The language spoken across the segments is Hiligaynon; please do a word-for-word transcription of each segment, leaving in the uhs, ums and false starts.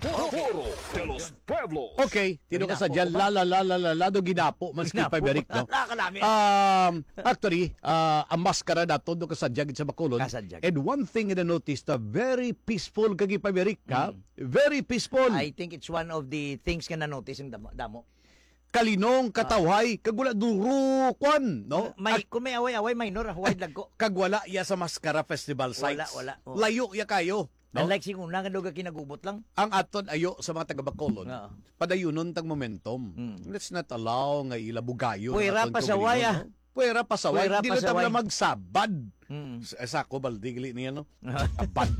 Foro de los Pueblos. Okay, tino ka sa dyan, la, la, la, la, la, la, do ginapo, mas Ginapo. Kay Paberic, no? Nakalami. Um, actually, ah, ang maskara nato, do ka sa dyan, sa Bacolod. Kasadyag. And one thing I noticed, ah, very peaceful kay Paberic, ha? Mm. Very peaceful. I think it's one of the things nga na-notice ng damo. Damo. Kalinong, Ah. katawhay, kag wala duro, kwan, no? May, Ag- kung may away-away, minor, ah, wide lang ko. Kag wala ya sa maskara festival Wala, sites. wala, oh. Layo ya kayo. No? Unlike sing una nga duga kinagubot lang. Ang aton ayo sa mga taga Bacolod, Oo. padayunon tang momentum. Mm. Let's not allow nga ila bugayon ang Puwera aton pasaway, kaugalingon, ah. no? Puwera pasaway. Puwera Di na ta pasaway. na magsabad. Mm. Sa, sa ako, baldi, gali niya, no? Abad.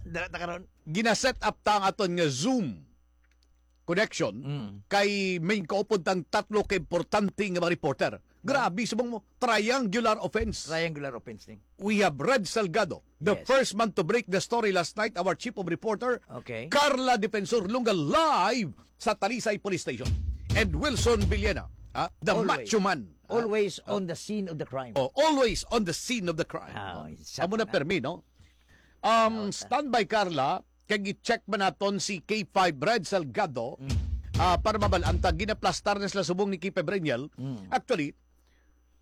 Dala ta karon. Gina-set up ta ang aton nga Zoom connection Mm. kay may kaupod tang tatlo ka importante nga mga reporter. Grabe, subong mo, triangular offense. Triangular offense ni. We have Red Salgado, the Yes. first man to break the story last night, our chief of reporter, Okay. Carla Defensor Lunga, live sa Talisay Police Station. And Wilson Villena, ah, the Always. macho man. Ah, Always ah. on the scene of the crime. Oh, always on the scene of the crime. Ah, Oh, isa amo na pa na. permi, no? Um, Out na. standby, Carla, kay i-check man naton si K five Red Salgado, Mm. ah, para mabalaan ta, ginaplastar na sila subong ni K five Reniel. Mm. Actually,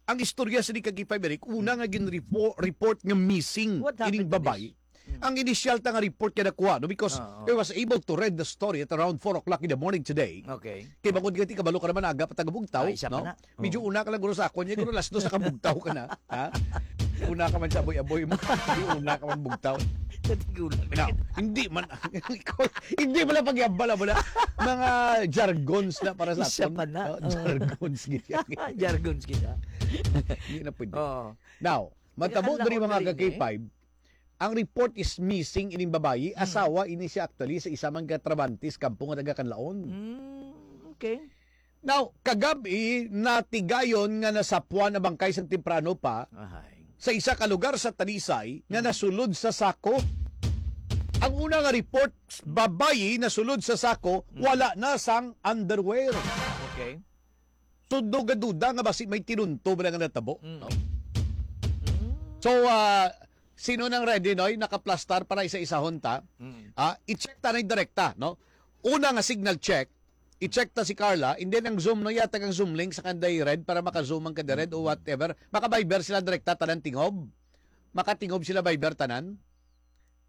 ang istorya sa ni kay K five Eric, una nga gin-repo-, report nga missing What ining happened to babay. this? Mm. Ang initial ta nga report nga nakuha, no, because Oo. I was able to read the story at around four o'clock in the morning today. Okay. Kay bangod nga ti kabalo ka naman, aga pa ta kabugtaw, Ah, isa pa no? na. Medyo Oo. una ka lang guro sa akon, ya guro alas dos sa kabugtaw ka na, ha? Una ka man sa aboy-aboy mo, di una ka man bugtaw. Natigulang na Now, kita. hindi man, hindi man lang pagyabal, amo na. Mga jargons na para sa Isa aton. pa na. Oh, Oo. jargons, gid. Jargons kita. Hindi na pwede. Oo. Now, matabo Ang diri, mga laon diri, ka-K five, ang report is missing ining babayi, Hmm. asawa ini siya actually sa isa man ka trabahante sa kampo nga taga Kanlaon. Mm, okay. Now, kagab-i, natigayon nga nasapuan ang bangkay sang temprano pa Ahay. sa isa ka lugar sa Talisay nga Hmm. nasulod sa sako. Ang una nga report, babayi nasulod sa sako, Hmm. wala na sang underwear. Okay. Tudo gaduda nga basi may tinunto ba nga natabo, Mm. no? Mm. So, ah, sino nang ready, Noy? Nakaplastar para isa-isahon ta. Mm. Ah, i-check ta na direkta, no? Una nga signal check, i-check ta si Carla, and then ang Zoom, no, yatag ang Zoom link sa kanday Red para maka-Zoom ang kanday Red o Mm. whatever. Maka-Viber sila direkta, tanan tingob. Makatingob sila Viber tanan.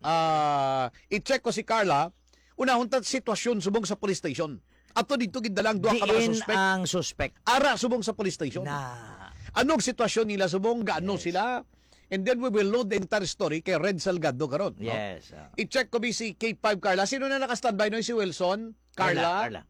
Ah, i-check ko si Carla. Unahon ta sitwasyon subong sa police station. Ato dito gindala ang duha ka mga Diin suspect. ang suspect? Ara subong sa police station. Na. Anong sitwasyon nila subong? Gaano Yes. sila? And then we will load the entire story kay Red Salgado karon, no? Yes, ah. I-check ko bi si K five Carla. Sino na naka-standby, no? Si Wilson? Carla? Carla, Carla.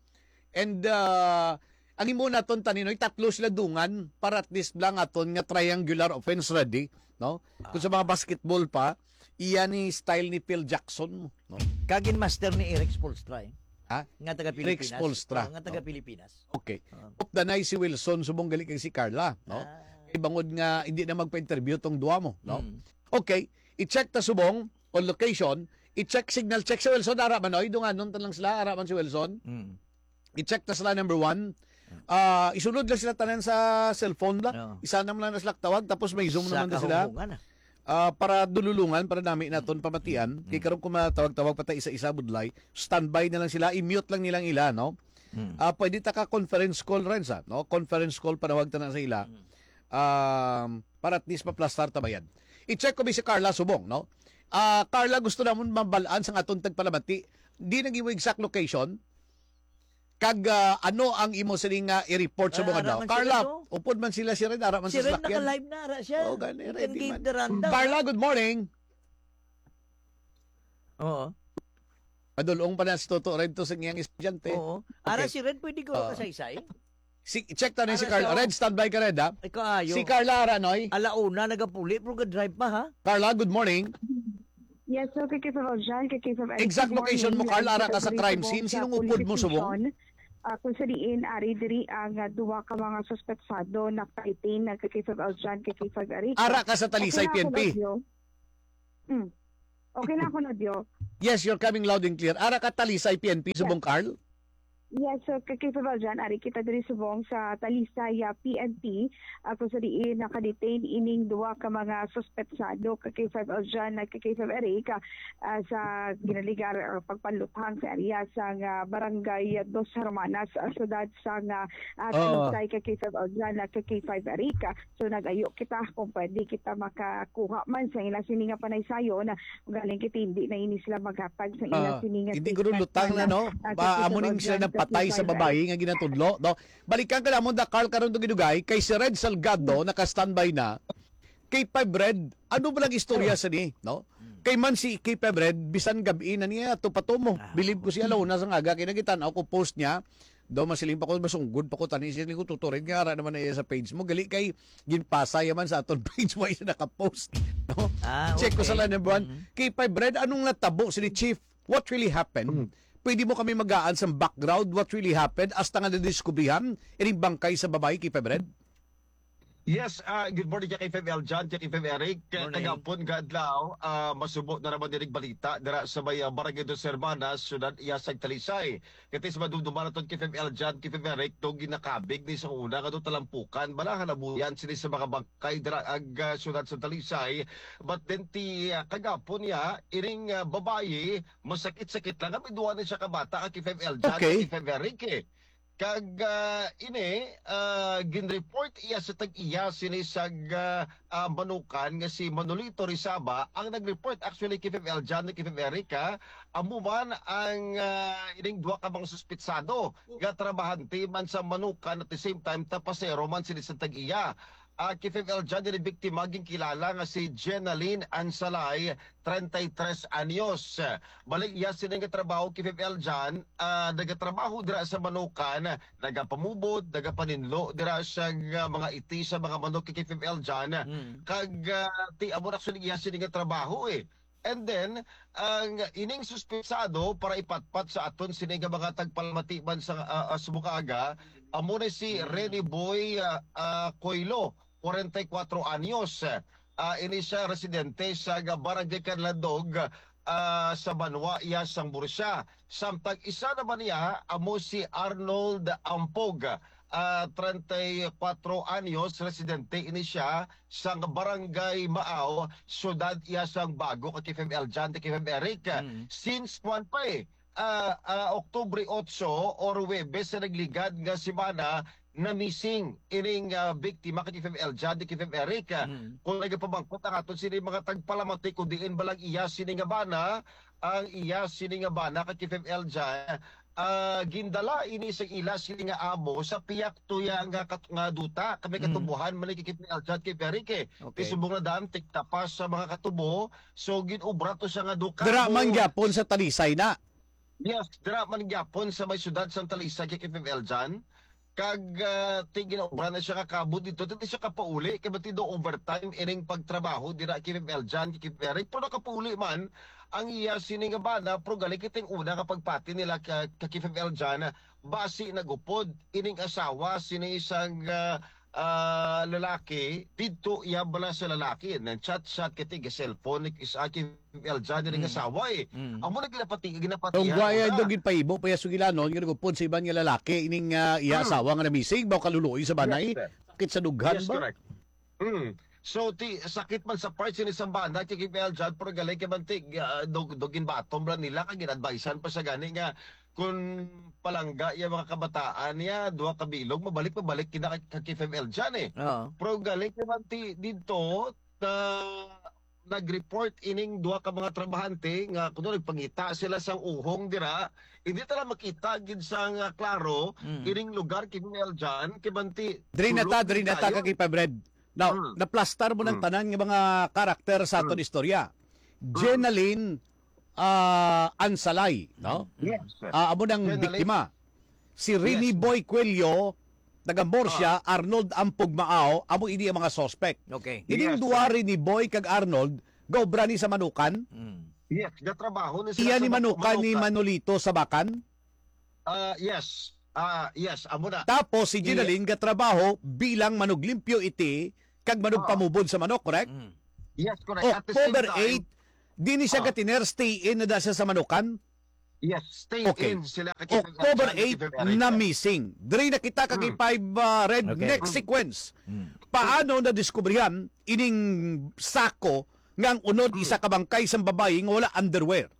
And, uh, ang imo naton taninoy, tatlo sila dungan para at least lang aton nga triangular offense ready, no? Kung sa mga basketball pa, iya ni style ni Phil Jackson, no? Kagin master ni Eric Spoelstra, eh. Ha? Nga taga Eric Pilipinas. Spoelstra. Oh, nga taga No? Pilipinas. Okay. Ah. Updanay si Wilson, subong gali kay si Carla, no? Ah. Kay bangod nga hindi na magpa-interview tong duwa mo, no? Mm. Okay, i-check ta subong on location, i-check signal check si Wilson, ara man, oy, dunganon ta lang sila, ara man si Wilson. Mm. I-check ta sila, number one. Ah, isunod lang sila tanan sa cellphone la. Oo. Isa na lang na sila tawag, tapos may Zoom Sa naman na sila. kahunghungan, ah. Ah, para dululungan, para nami naton pamatian. Mm. Kay karon kung matawag-tawag pa ta isa-isa, budlay, standby na lang sila, i-mute lang nilang ila, no? Mm. Ah, pwede ta ka conference call rin sa, no? Conference call panawag ta na sa ila. Mm. Um, para at least maplastar ta bayad. I-check ko bi si Carla subong, no? Ah, Carla, gusto namon mabalaan sang aton tagpalamati. Di nag imo exact location. Kag, ah, ano ang imo sini nga i-report sa Ah, mga ara daw? man si Carla, Red, oh. upod man sila si Red, ara man Si sa Red salakyan. naka-live na, ara siya. Oh, gani, You can ready give man. the rundown, Carla, ah. good morning. Oo. Madulong pa na si Toto Red to sa iyang estudyante. Oo. Ara Okay. si Red, pwede ko Ah. kasaysay? Si, check ta na si Ara Carla. siya. Red, standby ka, Red, ha? Ay, kaayo. Si Carla, ara, noy? Alauna, nagapuli, pero ga-drive pa, ha? Carla, good morning. Yes, so kay K five Aljan, kay K five Eric, Exact good location mo, morning. Carla, ara ka sa Nandito crime po scene. sa Sinong police upod mo subong? station. Ah, kung sa diin, ari diri ang, ah, duha ka mga suspetsado na fighting na kay K five Aljan, kay K five Eric. Ara ka sa Talisay Okay na ako, P N P. Nadyo. Hmm. Okay na ako, Nadyo. Yes, you're coming loud and clear. Ara ka Talisay P N P, Yeah. subong Carl? Yes, so kay Febal dyan, ari kita diri subong sa Talisay, ah, P N P, ah, kung sa diin nakadetain ining duwa ka mga suspetsado kay Febal dyan, ah, kay Feb Eric, ah, ah, sa ginaligar, ah, pagpanluthang sa area sa nga barangay Dos Hermanas, ah, siyudad sa nga, ah, Oo. Talisay kay Febal dyan, ah, kay Feb Eric. So nag-ayo kita kung pwede kita makakuha man sa ila sini nga panaysayon, ah, galing kita hindi na ini sila maghatag sa ila Ah, sini nga hindi ko statement lutang na, man, no? ah, Ba, sa amo ning sila Febal dyan, nagpatay sa kay Feb Eric. Babayi nga ginatudlo, no? Balikan ka namon, da Carl, karon dugay-dugay, kay si Red Salgado naka-standby na. Kay Five Red, ano ba lang istorya sa ni, no? Kay man si kay Five Red, bisan gab-i na niya, to patumo. Ah, Bilib ko oo. Siya, launa sa nga aga, kay nagitan-aw ko post niya. Daw masiling pa ko, masunggod pa ko, tani siya, ko tuturin nga, ara naman na iya sa page mo. Gali kay, ginpasa yaman sa aton page, wa siya naka-post, no? Ah, Check ko sa okay. Lanebuan. Mhm. Kay Five Red, anong natabo sini, Chief? What really happened? Mm. Pwede mo kami magaan sa background, what really happened? Hasta nga nadiskubrihan, ining bangkay sa babayi kay Five Red? Yes, ah, good morning kay Feb Eljan, kay Feb Eric. Morning. Kagapon, kaadlaw, ah, masubo na naman dinig balita dira sa may, ah, Barangay Dos Hermanas, Siyudad Iyasag, Talisay. Kati sa madumduman naton kay Feb Eljan, kay Feb Eric, to ginakabig ni sa una nga to talampukan, bala halabuyan sini sa mga bangkay dira ag, ah, siyudad sa Talisay. But then ti, ah, kagapon niya, iring, ah, babayi, masakit-sakit lang. Kami duwa na siya kabata, kay Feb Eljan, Okay. Kay Feb Eric, eh. Kag, ah, ini, ah, ginreport iya sa tag-iya sini sa, ah, ah, Manukan nga si Manolito Rizaba ang nag-report actually kay Feb Eljan, kay Feb Erica. Amo man ang, ah, ining duha ka mga suspitsado nga trabahante man sa Manukan at the same time tapasero man sini sa tag-iya. Ah, kay Feb Eljan, ini biktima ginkilala nga si Jenalyn Ansalay, treinta y tres anyos. Bali, iya sini nga trabaho kay Feb Eljan, ah, nagatrabaho dira sa Manukan, nagapamubot, nagapaninlo dira sa, ah, mga iti sa mga manok kay Feb Eljan. Mm. Kag, ah, ti amo na actually iya sini nga trabaho, eh. And then, ang ining suspetsado para ipatpat sa aton sini nga mga tagpalamati man sa, ah, ah, subong aga, amo na si Mm. Rene Boy, ah, ah, Coilo, kwarenta y kuwatro anyos. Ah, ini siya residente sa ga-, Barangay Canlandog, ah, sa Banwa, iya sang Bursa. Samtang isa naman niya amo si Arnold Ampog, ah, treinta y cuatro anyos, residente ini siya sang Barangay Maaw, siyudad iya sang Bago, kay Feb Eljan, kay Feb Eric. Mm. Since kwan pa, eh, ah, ah, Oktubre otso or Huwebes sa nagligad nga semana, na-missing ining, ah, biktima kay Feb Eljan, kay Feb Eric. Mm. Kung nagapamangkot ang aton sini mga tagpalamati kung diin ba lang iya sini nga bana, ang iya sini nga bana kay Feb Eljan, ah, gindala ini sa ila sini nga amo sa pihak tuya nga kat-, nga duta, kay may Mm. katubohan man ni kay Feb Eljan, kay Feb Eric, eh. Okay. Kay subong na daan, tiktapas sa mga katubo. So, gin-obra to siya nga duka Dira man mo. Gyapon sa Talisay na. Yes, dira man gyapon sa may siyudad sang Talisay, kay Feb Eljan. Kag, ah, ti ginaobra na siya nga kabod dito, ti siya kapauli, kay bati do overtime ining pagtrabaho dira kay Feb Eljan, kay Feb Eric. Pero nakapauli man ang iya sini nga bana, pero gali kitang una nga pagpati nila ka, ka kay Feb Eljan, basi nagupod ining asawa sini isang, ah, ah, lalaki, didto iya bala sa lalaki, nang chat-chat kay tiga cellphone ni isa kay Eljan, diri nga Mm. asawa, eh. Mm. Amo na ginapati-, ginapatihan Tungwa iya na. Daw ginpahibo pa iya sugilanon, nga nagupod sa iban nga lalaki, ining, ah, iya Mm. asawa nga namising, ba kaluluoy sa banay? Yes, sir. Sakit sa dughan Yes, ba? Correct. Mm. So, ti, sakit man sa part sini sa bana, kay Kim Eljan, pero gali kay man ti, ah, dog, dog ginbatom ra nila, kag gin-advisean pa siya gani nga, kung palangga iya mga kabataan niya, duha ka bilog, mabalik, mabalik kina kay, kay Kim Eljan, eh. Oo. Pero gali kay man ti, dito, na nag-report ining duha ka mga trabahante nga kuno nagpangita sila sang uhong dira, hindi ta lang makita gid sang, ah, klaro Mm. ining lugar kay Eljan, kay banti Diri na ta, sulod diri na ta kayo. Kay Febred. Now, Mm. naplastar mo ng Mm. tanan nga mga karakter sa aton Mm. istorya. Mm. Jenalyn, ah, Ansalay, no? Yes, sir. Ah, amo nang Jenalyn. Biktima. Si Rene Yes. Boy Cuello, taga Murcia, Ah. Arnold Ampugmao, amo ini ang mga suspect. Okay. Ining Yes, duha, sir. Rene Boy kag Arnold, gaobra ni sa Manukan. Mm. Yes, gatrabaho ni sila Iya sa ni Manukan, ni Manukan. Manolito sa Bacan? Ah, yes. Ah, yes, amo na. Tapos si Iya. Jenaline gatrabaho bilang manuglimpyo iti kag manugpamubod sa manok, correct? Mm. Yes, correct. At the same October time, eight, di ni siya ah. Gatiner, stay in na da siya sa Manukan? Yes, stay Okay. in sila kay Kevin October Alchan, eight Kevin Eric. na missing. Diri na kita kag Mm. five, ah, Red, Okay. next Mm. sequence. Mm. Paano nadiskubrihan ining sako nga ang unod Mm. isa ka bangkay sang babayi nga wala underwear?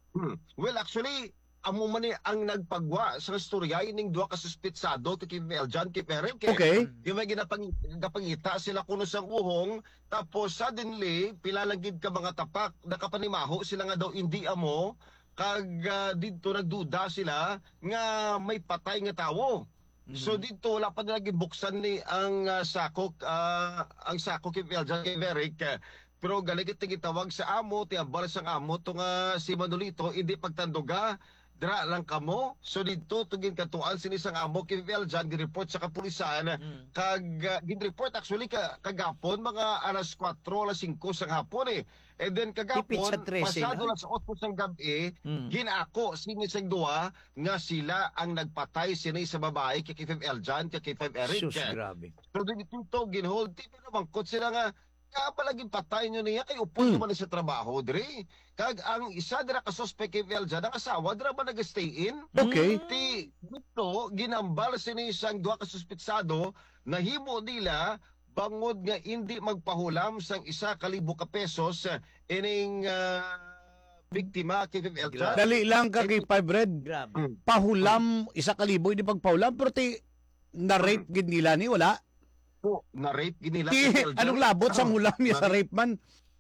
Hmm. Well, actually, amo man ni ang nagpagwa sa istorya ining duha ka suspitsado kay Kim Eljan, kay Eric, eh. Okay. Yung may ginapang-, ginapangita sila kuno sang uhong, tapos suddenly, pila lang gid ka mga tapak, nakapanimaho sila nga daw indi amo, kag, ah, didto nagduda sila nga may patay nga tawo. So, Mhm. didto wala pa nila ginbuksan ni ang, ah, sako, ah, ang sako kay Eljan, kay Eric, eh. Pero gali kita gitawag sa amo, ti hambal sang amo to nga si Manolito, indi pagtanduga, dira lang kamo. So didto to ginkatuan sini sang amo kay Eljan, gi-report sa kapulisan, Mm. kag, ah, gin-report actually ka, kagapon, mga alas kuwatro, alas singko sang hapon, eh. And then Tipit sa kagapon, trese pasado na. alas otso sang gab-i, Mm. ginako sini sang duha nga sila ang nagpatay sini sa babayi kay K five Eljan, kay K five Eric. Sus, grabe. So didto to ginhold, ti pinamangkot sila nga, Kaya pala ginpatay nyo niya kay upod Hmm. naman sa trabaho diri. Kag ang isa dira ka suspect kay Veljan, ang asawa dira ba nag-stay in? Okay. Mm. Ti dito, ginambal sini sang duha ka suspitsado, nahimo nila bangod nga indi magpahulam sang isa ka libo ka pesos, eh, ining, ah, biktima kay Veljan. Grabe. Dali lang ka kay Five Red. Grabe. Hmm. Pahulam, isa ka libo, hindi pagpahulam, pero ti, na-rape gid nila ni, wala? Po, na-rape gid nila Ti, si Elder. Anong labot sang Oh, hulam niya sa na-rape. Rape man?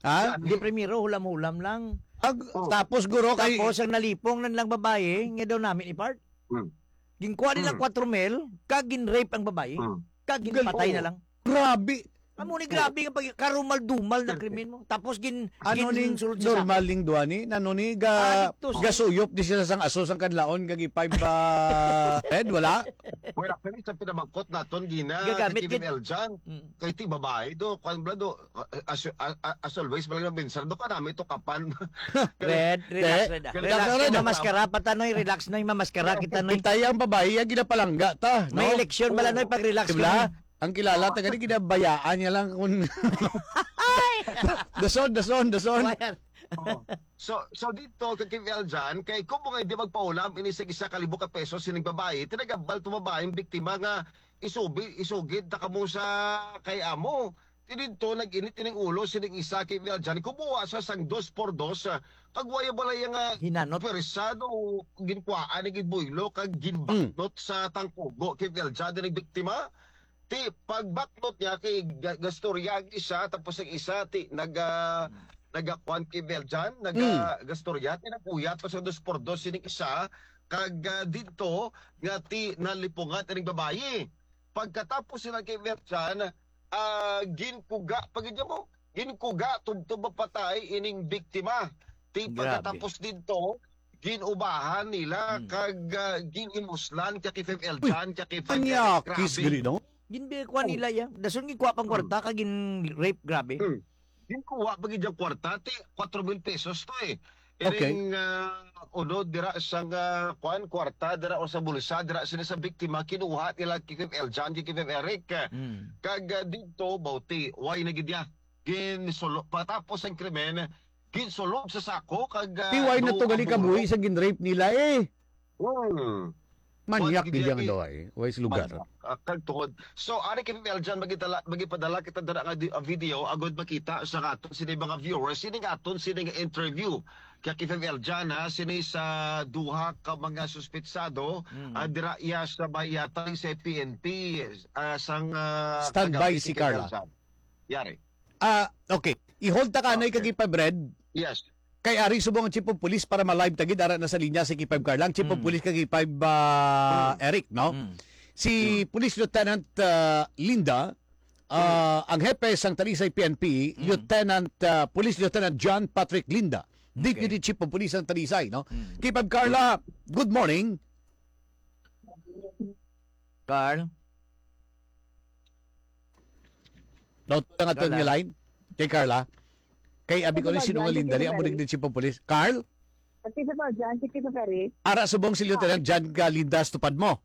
Ha? Sa Di primero, hulam-hulam lang. Ag-, Oh. Tapos, guro, kay Tapos, ang nalipong na nilang babae, nga daw namin i-part. Hmm. Ginkuha nila Hmm. kwatro mil, kag gin-rape ang babae, Hmm. kag Gal-, ginpatay na oh. lang. Grabe. Amo ni, Oh. grabe nga pag-, karumal-dumal na Perfect. krimen mo. Tapos gin-, Ano ning ginsulod sa normal sako. ning duha ni? Ano ni ga-, Ah, dito sa gasuyop di sila sang aso sang kadlaon kag i-five, ah, head? Wala? Well, actually, sa pinamangkot naton, Gina, Gagamit kay Kim gid. Eljan, Mm. kay ti babae do, kwan bala do, a-, a-, aso-, a-, a-, as always, bala nga mensahe do, kanami to kapan. Red, relax, Te, Red, ah. relax, Relax, Red, Red, ah. mamaskara pa ta, Noy. Relax, Noy. Mamaskara kita, Noy. Kita ang babae, ang ginapalangga ta, May no? eleksyon bala, Oo. Noy, pag relax Di ka, bala? Noy. Ang kilala ta gani, ginabayaan niya lang kung dason, dason, dason. Wala. Oo. So, so dito, kay Kim Eljan, kay kung mga hindi magpaulam, ini sa isa ka libo ka pesos, sining babae, tinagambal to babaeng biktima nga isubi, isugid ta kamo sa kay amo. Ti didto, nag-init ining ulo sining isa kay Kim Eljan, kumuha sa sang dos por dos, ah, kag waya balay nga Hinanot. pwersa do, ginkuhaan ni gibuylo, kag ginbaknot Mm. sa tangkugo kay Kim Eljan, ining biktima. Ti, pagbaknot niya kay ga-, gastorya ang isa, tapos ang isa, ti, naga-, Hmm. nagakuan kay Beljan, naga-, Hmm. gastorya, ti, nag-uyat pa sa dos por dos sining isa, kag, ah, didto nga, ti, nalipungan ining babayi. Pagkatapos sila kay Beljan, ah, ginkuga pa gid mo, ginkuga tubtob mapatay ining biktima. Ti, Grabe. pagkatapos didto, ginubahan nila Hmm. kag, ah, ginimuslan kay K five Eljan, kay K five Eljan. Anyakis Grabe. gani, no? Ginbikuan Oh. nila iya. Dason ginkuha pang Hmm. kwarta kag gin-rape, grabe. Hmm. Ginkuha pa gid ang kwarta, ti, kwatro mil pesos to, eh. Okay. Iring, ah, uno dira sa nga, kuan, kwarta dira o sa bulsa dira sila sa biktima, kinuha nila kay K five Eljan, kay K five Eric. Hmm. Kag, ah, didto, bauti, why na gid ya? Ginsulo-, patapos ang krimen, ginsulob sa sako kag, ah, Ti why na do to gali ang kabuhi bulo. sa gin-rape nila, eh? Hmm. Manyak Wala gid gid yang iya, daw, eh. Wais lugar. Manyak. Ah, kag tuhod. So, ari kay Eljan, magitala-, magipadala kita dira nga di-, ah, video agud makita sa aton sini mga viewers. Sini nga aton sini nga interview kay Kim Eljan, ha, sini sa duha ka mga suspitsado, Mm. ah, dira iya sa bayatan sa P N P, ah, sang, ah, Standby kagabi si kay Kim Carla. Eljan. Yari. Ah, okay. I-hold ta ka, Noy, Okay. kag K five Red. Yes. Kay ari subong ang Chief of Police para ma-live ta gid, ara na sa linya si K five Carla, ang Chief of Mm. Police kag K five, ah, Mm. Eric, no? Mm. Si Mm. Police Lieutenant, ah, Linda, ah, Mm. ang hepe sang Talisay P N P, Mm. Lieutenant, ah, Police Lieutenant John Patrick Linda, Okay. Deputy Chief of Police sang Talisay, no? Mm. K five Carla, good morning. Carl? Daw to nga Carla. Line kay Carla. Kay abi ko Ano ni ba, sinungaling John? dali, amo Secretary? Din si Chief of Police. Carl? Pati sa ba, John? Si Secretary? Ara subong si Lieutenant John Galindas, tupad mo.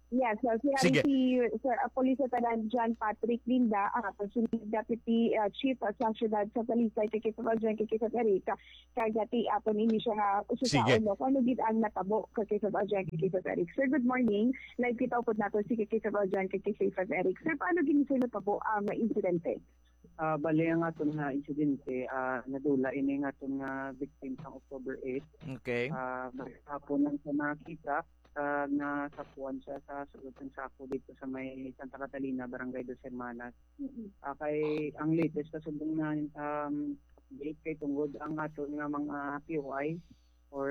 Yes, so si, Sige. si Sir, uh, Police Lieutenant John Patrick Linda, ang aton si Deputy, uh, Chief, uh, sa Siyudad sa Talisay, kay Chief John, kay Chief Eric, kag ati aton ini siya nga Sige. ususaon, no, kung ano gid ang natabo kay Chief John, kay Chief Eric. Sir, good morning. Live kita upod nato si Chief John, kay Chief Eric. Sir, paano gid siya natabo ang insidente? Ah, bali, ang aton nga insidente, ah, nadula ini nga aton nga victim sang October eight. Okay. Ah, maghapon lang siya nakita, ah, nga sapuan siya sa sulod sang sako dito sa may Santa Catalina, Barangay Dos Hermanas. Mm-mm. Ah, kay ang latest na subong na, um, update kay tungod ang aton nga mga P O I or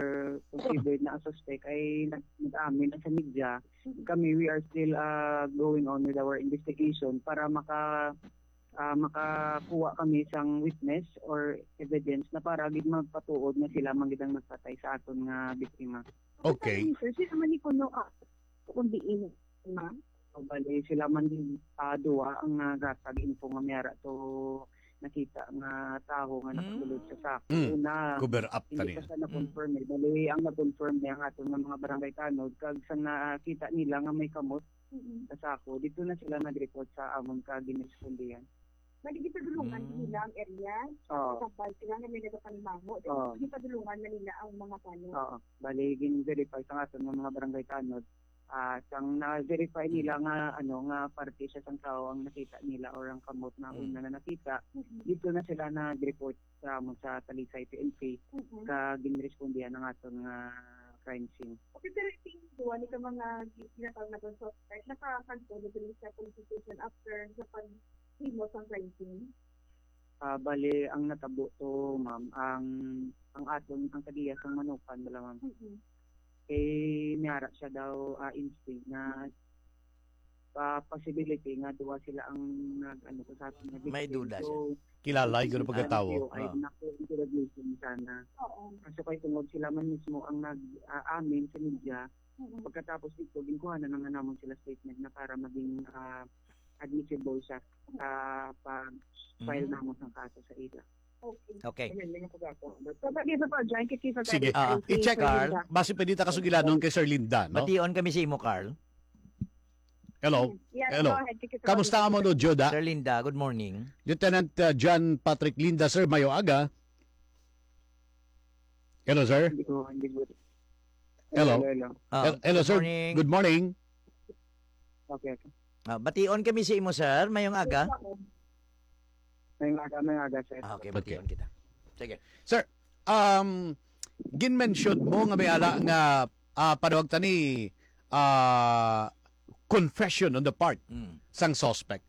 considered na suspect ay nag-, nag-amin na sa media. Mm-mm. Kami, we are still, ah, going on with our investigation para maka-, ah, makakuha kami sang witness or evidence na para gid magpatuod nga sila man gid ang nagpatay sa aton nga biktima. Okay. Sir, sino man ni kuno, ah, kung diin, ma'am? O, bali, sila man, ah, duwa ang naghatag info nga may ara to nakita nga tawo nga Hmm. nakasulod sa sako. Hmm. Una, Cover up hindi tani. pa siya na-confirm eh. Bali, ang na-confirm niya ang aton nga mga barangay tanod, kag sa nakita nila nga may kamot Mm-mm. sa sako, dito na sila nag-report sa amon ka ginrespondihan. Bali, gipadulungan Mm. nila ang area. Oo. Sa sila nga may nagapanimaho, Oo. gipadulungan na nila ang mga tanod. Oo. Bali, gin-verify sa aton nga mga barangay tanod. Ah, sang na-verify nila nga, ano, nga parte siya sang tao ang nakita nila or ang kamot na Mm. una na nakita, Mm-mm. dito na sila nag-report sa amon sa Talisay P N P, Mm-mm. ka ginrespondihan ang aton nga crime scene. Okay, pero iting duwa ni ka mga gi-, ginatawag naton suspect, nakakanto na diri sa police station after sa paghimo sang crime scene? Ah, bali, ang natabo to, ma'am, ang, ang aton, ang tagiya sang Manukan, bala, ma'am. Mm-mm. Kay may ara siya daw, ah, instinct na, ah, possibility nga duwa sila ang nag-, ano, sa aton nga May victim. duda siya. So, Kilala, siguro, ang pagkatawo. P O I Ah. na po, interrogation sana. Oo. Kaso kay tungod sila man mismo ang nag-, ah, amin sa media, Mm-mm. pagkatapos dito, ginkuhanan na nga namon sila statement na para maging, ah, admissible siya sa pag-file Mm. namon ng kaso sa ila. Okay. Okay. Ayan, may nakagapo. So, pwede sa pa, John, kasi sa Sige. Ah, Talisay, i-check, Sir Carl, Linda. Basi pwede ta kasugilanon kay Sir Linda, no? Bation kami sa imo, Carl. Hello? Yes, Hello. go ahead, Kiki, sa Kamusta Talisay. Mo, no, Juda? Sir Linda, good morning. Lieutenant, uh, John Patrick Linda, sir, mayo aga. Hello, sir? Hindi ko, hindi ko. Hello? Hello, hello. Ah, Hel-, hello, good sir. morning. Good morning. Okay, okay. Ah, bation kami sa imo, sir. Mayong aga. Mayong aga, mayong aga, sir. Ah, okay, Okay. bation kita. Sige. Sir, um, gin-mention mo nga may ara nga, ah, panawag ta ni, ah, confession on the part Mm. sang suspect.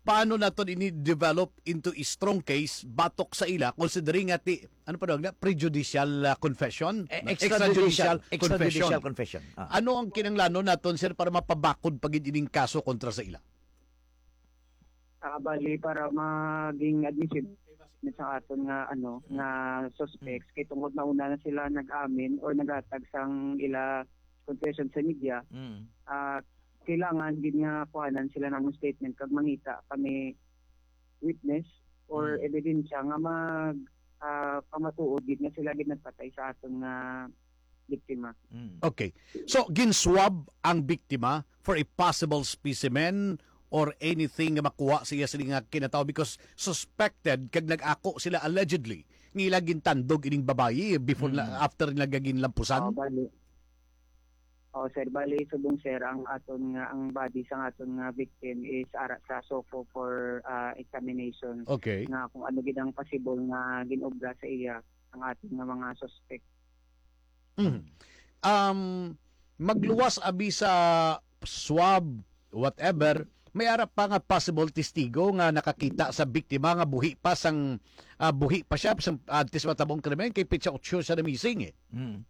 Paano naton ini develop into a strong case batok sa ila, considering nga ti-, ano pa daw nga, prejudicial, ah, confession? Eh, extrajudicial, Extrajudicial extrajudicial confession. confession. Ah. Ano ang kinahanglanon naton, sir, para mapabakod pa gid ining kaso kontra sa ila? Ah, bali, para maging admissible sa aton nga, ano, Mm. nga suspects, Mm. kay tungod na una na sila nag-amin or naghatag sang ila confession sa media, Mm. ah, kailangan gid nga kuhanan sila ng statement kag mangita kami witness or Mm. ebidensya nga mag, ah, pamatuod gid nga sila gid nagpatay sa aton nga biktima. Mm. Okay. So, ginswab ang biktima for a possible specimen or anything nga makuha sa iya sini nga kinatawo because suspected kag nag-ako sila allegedly nga ila gintandog ining babayi before na, Mm. after nila ginlampusan? Oh, bali. Oh, sir, bali, subong, sir, ang aton nga, ang body sa aton nga victim is ara sa SOCO for, ah, examination. Okay. Nga kung ano gid ang possible nga ginobra sa iya ang aton nga mga suspect. Mm. Um, magluwas abi sa swab, whatever, may ara pa nga possible testigo nga nakakita sa biktima nga buhi pa sang, ah, buhi pa siya sang antes matabo ang krimen, kay petsa otso siya na-missing eh. Mm.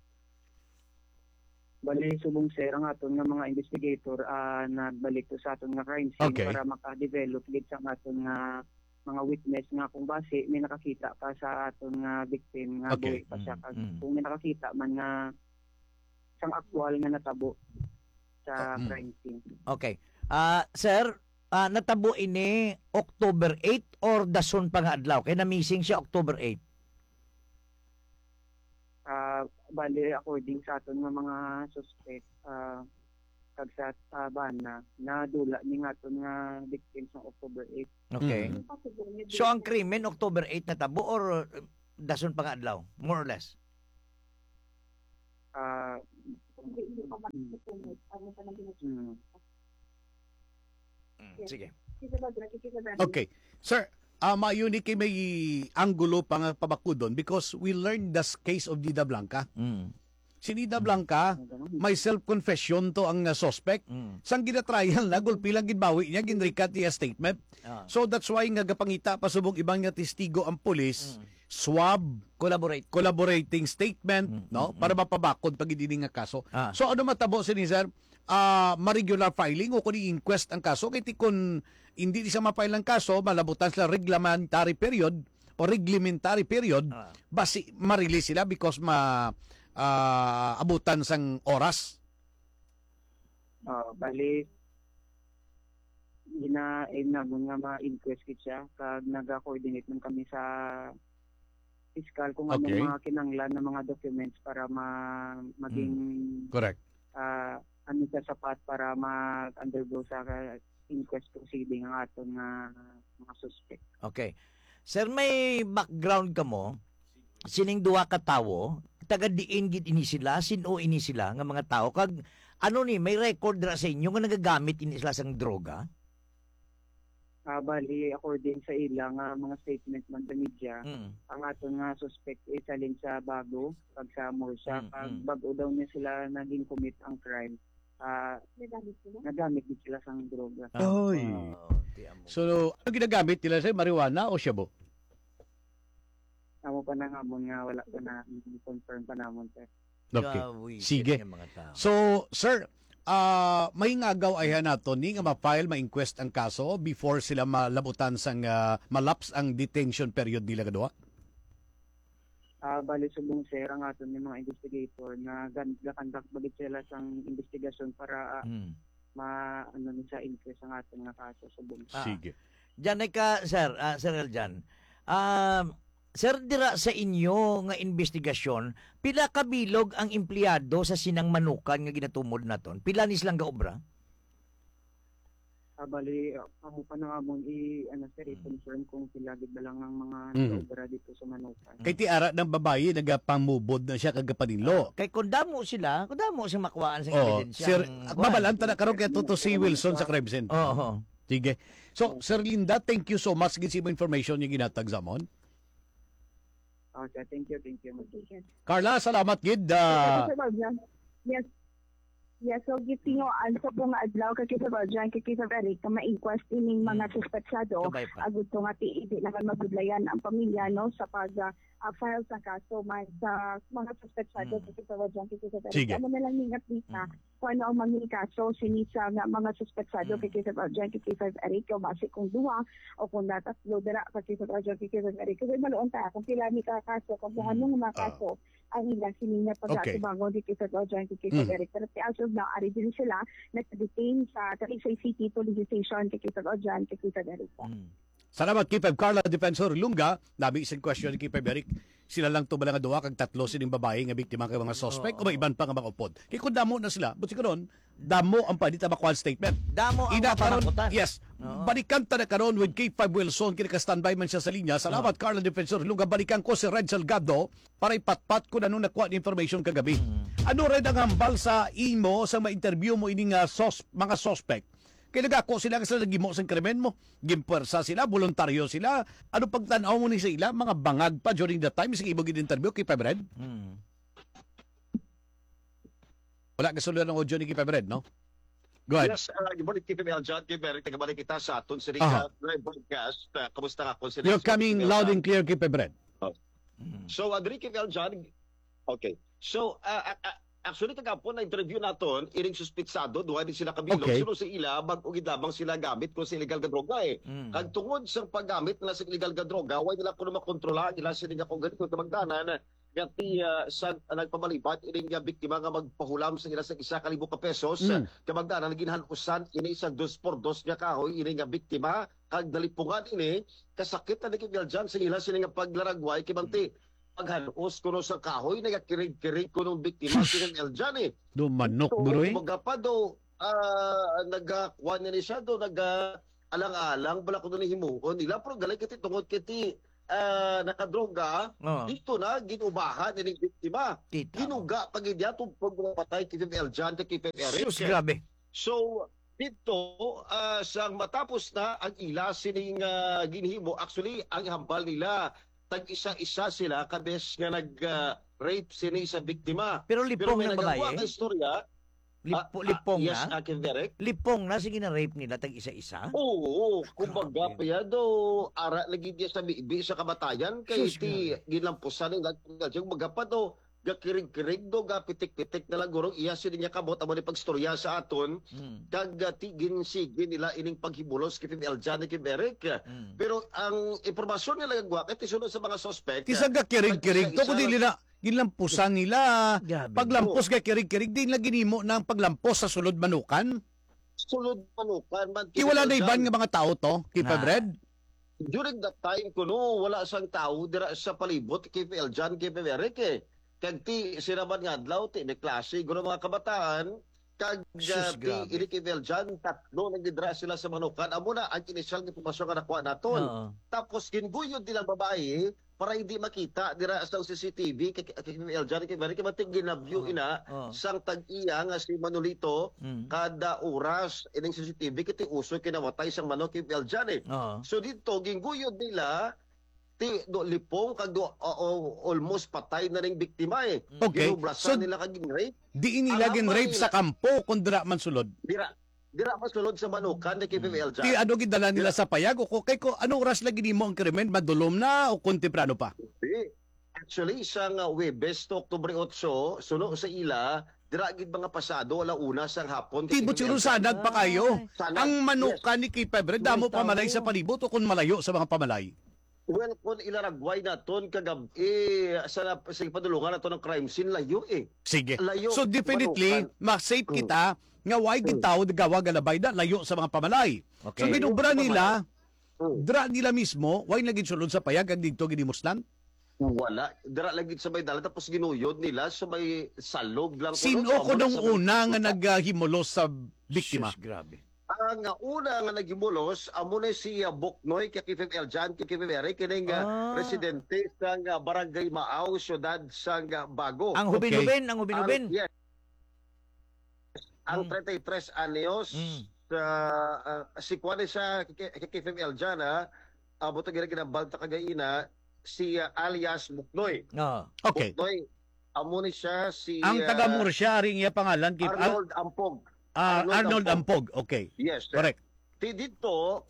Bali, subong, sir, ang aton nga mga investigator, ah, nagbalik to sa aton nga crime scene Okay. para maka-develop gid sa aton nga mga witness nga kung basi may nakakita pa sa aton nga victim nga Okay. buhi pa siya. Mm, Kag mm. kung may nakakita man nga sang aktual nga natabo sa Ah, mm. crime scene. Okay. Ah, sir, ah, natabo ini October eight or dason pa nga adlaw? Kay na-missing siya October eight. Ah, bali, according sa aton nga mga suspect, ah, kag sa, ah, bana, nadula ni nga aton nga victim sa October eight. Okay. Mm. So, ang krimen, October eight natabo or, uh, dason pa nga adlaw, more or less? Ah, mm. Mm. Mm, sige. Okay. Sir, ah, maayo ni kay may anggulo pa nga pabakudon because we learned the s-, case of Dida Blanca. Mm. Si Dida Blanca, may self-confession to ang, ah, suspect. Mm. Sang gina-trial na, gulpi lang ginbawi niya, ginrikat niya statement. Ah. So that's why nga gapangita pa subong iban nga testigo ang pulis, Mm. swab, Collaborate. collaborating statement, Mm, no? mm, Para mm. mapabakod pa gid ini nga kaso. Ah. So ano matabo sini, sir? Ah, ma-regular filing o kung i-inquest ang kaso? Kay ti kun hindi ni siya ma-file ang kaso, malabutan sila reglementary period o reglementary period, Ah. basi ma-release sila because ma-, ah, abutan sang oras. Ah, bali, gina-, aim namon nga ma-inquest gid siya, kag naga-coordinate man kami sa piskal kung anong Okay. mga kinahanglan na mga documents para ma-, maging, Mm. Correct. ah, ano siya, sapat para mag-undergo sa inquest proceeding ang aton nga mga suspect. Okay. Sir, may background kamo sining duha ka tawo, taga diin gid ini sila, sin-o ini sila nga mga tawo, kag ano ni, may record ra sa inyo nga nagagamit ini sila sang droga? Ah, bali, according sa ila nga mga statement man sa media, Mm. ang aton nga suspect is halin sa Bago, kag sa Murcia, Mm, kag mm. bag-o daw niya sila naging commit ang crime. Ah, Nagamit sila? nagamit din sila sang droga. Ah, Oy. ah, di amo. So, ano ginagamit nila, sir? Marijuana o shabu? Amo pa na nga mo nga wala pa na confirm pa namon, sir. Okay. Gawisit Sige. nga mga tao. So, sir, ah, may ngagaw ayhan nato ni nga ma-file, ma-inquest ang kaso before sila malabutan sang, ah, malaps ang detention period nila kaduha? Ah, bali subong, sir, ang aton ni mga investigator nga gan-, gakandak bagit sila sang investigasyon para, ah, Hmm. ma-, ano ni sa inquest ang aton nga kaso subong. Ah. Sige. Diyan ay ka, sir, ah, Sir Eljan. Ah, sir, dira sa inyo nga investigasyon, pila ka bilog ang empleyado sa sinang manukan nga ginatumod naton? Pila ni silang gaobra? Ah, bali, ah, amo pa na amon i-, ano, sir, Mm. i-confirm kung pila gid ba lang ang mga Mm. gaobra dito sa manukan. Kay ti ara ng babayi nagapamubod na siya kagapanilo. Ah, kay kung damo sila, kung damo sila makuhaan sa Oo, ebidensya, sir, ang at kuwan. Babalaan ta na karon kay Tuto si Wilson sa crime scene. Oo. Sige. So, Sir Linda, thank you so much gid sa imong information nga ginhatag sa amon. Oh, sir, thank you, thank you. Okay, sir. Carla, salamat gid, ah. Sir, sir, sir, yes. Yes, so gitinguan sa po nga adlaw kay Sir Valjean, kay Sir Eric, nga ma-inquest ining mga Hmm. suspetsado. Kabay pa. Agud to nga ti-, di naman mabudlayan ang pamilya, no, sa pag, ah, ah, file sa kaso, mas sa mga suspetsado Hmm. kay Sir Valjean, kay Sir Eric. Sige. Amo na lang ning update na Hmm. kung ano ang mga kaso sini sa nga mga suspetsado Hmm. kay Sir Valjean, kay Sir Eric, o basi kung duha o kung natatlo dira kay Sir Valjean, kay Sir Eric. Kasi maluon ta kung pila ni ka kaso, kung kung Hmm. anong mga Ah. kaso ang ila sini nga Okay. pag-atubangon dito sa Valjean, dito sa Mm. Eric. Pero as of now, ari din sila naka-detain sa Talisay City Police Station, dito sa Valjean, dito sa Eric. Mm. Salamat, K five Carla Defensor Lunga. Nabi isang question ni K five Eric. Sila lang to ba nga duha kag tatlo sining babayi nga biktima kay mga suspect o may Oo. iban pa nga mga upod? Kay kung damo na sila, but siguro, damo ang pwede ta makuha statement. Damo ang Ina karon, mapanakutan. Yes. Oo. Balikan ta na karon with K five Wilson, kini ka standby man siya sa linya. Salamat, Oo. Carla Defensor Lunga. Balikan ko si Red Salgado para ipatpat ko na nung nakuha ni information kagabi. Mm. Ano red ang hambal sa imo sa ma-interview mo ini nga sos-, mga suspect? Kay nagako sila nga sila naghimo sang krimen mo. Ginpuwersa sila, voluntaryo sila. Ano pagtan-aw mo ni sa ila? Mga bangag pa during the time sa imo gid interview kay Five Red? Mm. Wala ka sulod ang audio ni Kay Five Red, no? Go ahead. Yes, uh, good morning, K five L John, K five Red, tagabalik kita sa aton sining, Aha. uh, live broadcast. Uh, kamusta ka, Konsehal? You're coming loud and clear, Kay Five Red. Oh. Mm. So, uh, diri, K five L John, okay. So, uh, uh, uh, actually, kagapon na-interview naton ining suspitsado, duha din sila kabilog, Okay. sino sa ila, bag-o gid lamang sila gamit kung sa illegal nga droga, eh. Mm. Kag tungod sa paggamit nila sa illegal nga droga, way nila kuno makontrola ang ila sini nga kung ganito, kamagdanan, nga ti, ah, sa nagpamalibat ini nga biktima nga magpahulam sa ila sa isa ka libo ka pesos, Mm. kamagdanan ginhan-usan ini sa dos por dos nga kahoy ini nga biktima, kag nalipungan ini, kasakit na ni Kay Eljan sa ila sini nga paglaragway, kay bangti, Mm. paghan-os kuno sa kahoy, nagakirig-kirig kuno ang biktima, Sus! Si Kay Eljan, eh. Do manok, So, bro, eh. Kumbaga pa do, ah, nagakuan na ni siya do, naga-alang-alang bala kuno ni himuon nila, pero gali kay ti tungod kay ti, ah, nakadroga, Oo. dito na ginubahan ining biktima. Kita mo. Ginuga pa gid niya tungod pagpatay kay Fifth Eljan, kay Fifth Eric. Sus, grabe. So, dito, ah, sang matapos na ang ila sining, ah, ginhimo, actually, ang hambal nila, tag-isa-isa sila kabes nga nag, ah, rape sini sa biktima. Pero Pero lipong may na nagagwa babae? Ka istorya, Lipo-, ah, ah, lipong yes, na? Akin, Derek. Lipong na, sige na rape nila tag isa-isa? Oo, kumbaga Grabe. Pa yan, do, ara lagi niya sa bibi sa kamatayan, kay Sus, ti grabe. Ginlampusan ng lag-, kumbaga pa, do, gakirig-kirig, do, gapitik-pitik na lang, gurong iya, sini niya kamot, amo ni pagstorya sa aton, Hmm. kag, ah, ti, ginsigi nila ining paghibulos kay Fifth Eljan ni Kim Eric. Hmm. Pero ang impormasyon nga nagagwa, kay ti sunod sa mga suspect, Ti sa gakirig-kirig to, tag-isa-isa kundi lang nila, ginlampusan nila. Grabe. Paglampos Oo. Kay kirig-kirig, din lagi nimo na ang paglampos sa sulod manukan? Sulod manukan man, Ti wala na iban Eljan. Nga mga tao to, kay Na. Fifth Red? During that time, kuno, wala sang tao dira sa palibot kay Fifth Eljan, kay Fifth Eric, eh. Kag ti, sila man nga adlaw, ti, may klase, guro mga kabataan, kag, Sus, ah, ti, grabe. Ini kay Fifth Eljan, tatlo na gid dira sila sa manukan. Amo na ang inisyal nga impormasyon nga nakuha naton. Oo. Tapos, ginguyod nilang babae, para hindi makita dira sa C C T V, kay, kay, kay Eljan, kay Mary, kay Mating ginabyo Oo. Ina, Oo. Sang tag-iya nga si Manolito, Mm. Kada oras, ining C C T V, kay ti uso kinawatay sang manok kay Eljan, eh. Oo. So, dito, gingguyod nila, ti, do, lipong, kag do, o, o, almost patay na ning biktima, eh. Mm. Okay. Ginubrasan So, nila kag ginrape. Di nila Ang ginrape hambal sa nila kampo, kung dira man sulod. Dira, dira man sulod sa manukan ni Kim Mm. Eljan. Ti ano gidala nila Dira. Sa payag? O ko-, kay ko, ano oras lagi nimo ang krimen? Madulom na o kung temprano pa? Di. Actually, sa nga Huwebes to Oktubre otso, suno sa ila, dira gid mga pasado ala una sang hapon kay Ti, Kim but siguro Eljan. Sanag pa kayo. Ay. Sanag, Ang manukan yes. Ni Kim Fifth Red, damo May pa malay sa tao. Palibot o kung malayo sa mga pamalay? Well, kung ilaragway naton kagab-i sa, sa padulungan nato ng crime scene, layo eh. Sige. Layo, So, definitely, manukan. Mas safe Mm. Kita nga why gid Mm. Tao nagawa galabay na layo sa mga pamalay. Okay. So, ginubra Layo sa nila, pamalay. Mm. Dra nila mismo, why na ginsulod sa payag ang dito ginimuslan? Wala. Dra lagi sa may dalan, tapos ginuyod nila sa may salog lang. Sino Kuno, ko nung sa may una nga kuta. Naghimulos sa biktima? Sus, grabe. Ang, ah, una nga naghimulos, amo na si, ah, Buknoy, kay Fifth Eljan, kay Fifth Eric, kining, ah, Ah. Residente sa, ah, Barangay Maaw, siyudad sa, ah, Bago. Ang hubin-hubin, Okay. ang hubin-hubin. Ang, yes. Ang Mm. treinta y tres anyos, Mm. sa, ah, si Kuan siya, kay, kay Fifth Eljan, ha? Amo to gina-, ginambal ta kagaina, si, ah, alias Buknoy. Ah. Okay. Buknoy, amo ni siya si, Ang taga ah, Murcia, ari ang iya pangalan, kay, ah, Arnold Ampog. Ah, Arnold Arnold Ampog. Ampog. Okay. Yes, sir. Correct. Ti dito,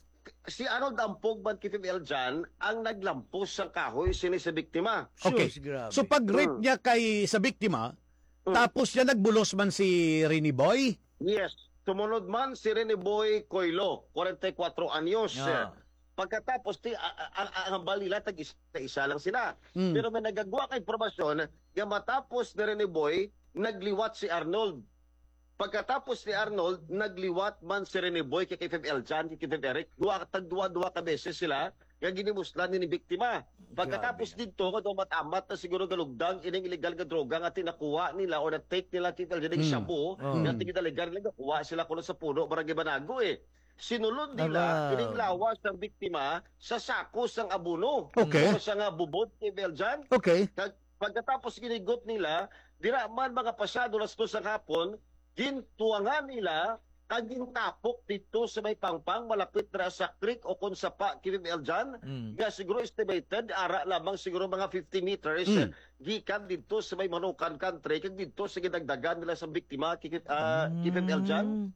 si Arnold Ampog man kay Fifth Eljan ang naglampos sang kahoy sini sa biktima. Okay. Sus, grabe. So, pag rape Mm. Niya kay sa biktima, Mm. Tapos niya nagbulos man si Rene Boy? Yes. Sumunod man si Rene Boy Coilo, kwarenta y kuwatro anyos. Ah. Pagkatapos, ti, a-, a-, a-, ang hambal nila, tag-isa-isa lang sila. Mm. Pero may nagagwa ka impormasyon nga matapos ni Rene Boy, nagliwat si Arnold. Pagkatapos ni Arnold, nagliwat man si Rene Boy kay, kay Fifth Eljan, kay Fifth Eric. Duwa, tagduwa-duwa ka beses sila nga ginimuslan ni biktima. Pagkatapos Grabe. Didto, nga dumat-amat na siguro galugdang ining illegal nga droga nga tinakuha nila o na-take nila, kay Fifth Eljan, Mm. Shabu, Oh. nga Mm. tigidaligan nila, gakuha sila kuno sa puno, Barangay Banago, eh. Sinulod nila Ala. Ining lawas ng biktima sa sako sang abono. Okay. O sa nga bubod kay Fifth Eljan. Okay. Kag pagkatapos ginigot nila, dira man mga pasado las dos ang hapon, gintuwangan nila kag gintapok dito sa may pangpang, malapit na sa creek o kung sapa, Kim Eljan, Mm. nga siguro estimated, ara lamang siguro mga fifty meters, Mm. gikan dito sa may Manukan Country, kag dito sa ginagdagan nila sa biktima, Kim, ah, Kim Eljan. Mm.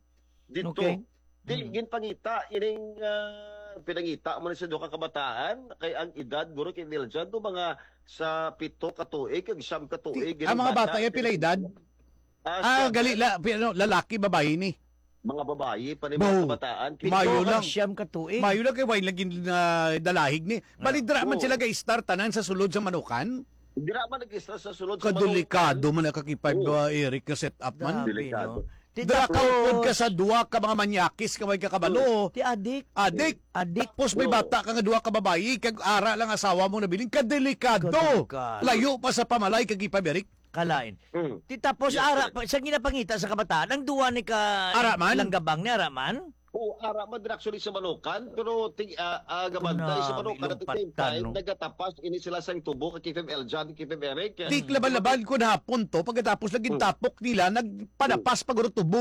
Dito. Okay. Di, Mm. ginpangita, ining, ah, pinangita mo na sa duha ka kabataan, kay ang edad, guro, kay Eljan, do mga sa pito ka tuig, kag siyam ka tuig, Ti-, ang mga bata, iya, pila edad? Ah, Ah, siyam. Gali la, pi-, ano, lalaki, babayi ni? Mga babayi pa ni Bo, mga kabataan. Pito mayo kag lang. Siyam ka tuig. Mayo lang kay wine lagi na dalahig ni. Bali, dira man Oo. Sila ga-start tanan sa sulod sa Manukan? Dira man nag-start sa sulod sa Manukan. Kadelikado man ang kakipag, Oo. Ah, Eric, nga setup man. Grabe, Delikado. No? Ti Dira ka tapos upod ka sa duha ka mga manyakis nga may kakabalo. Ti adik. Adik. Adik. Tapos may Oo. Bata ka nga duha ka babayi, kag ara lang asawa mo nabilin. Kadelikado. Kadelikado. Layo pa sa pamalay kag ipamirik. Kalain. Mm. Ti tapos Yes, ara correct. sa ginapangita sa kabataan, ang duwa ni ka Ara man? Langgabang ni ara man. Oo, ara man din actually sa Manukan, pero ting, ah, ah, gamantay sa Nami, Manukan at the same lupatan, time, no? nagatapas ini sila sang tubo kay K F M L John, K F M Eric. Di laban-laban ko hapon to, pagkatapos lagi Mm. tapok nila, nagpanapas pa guro tubo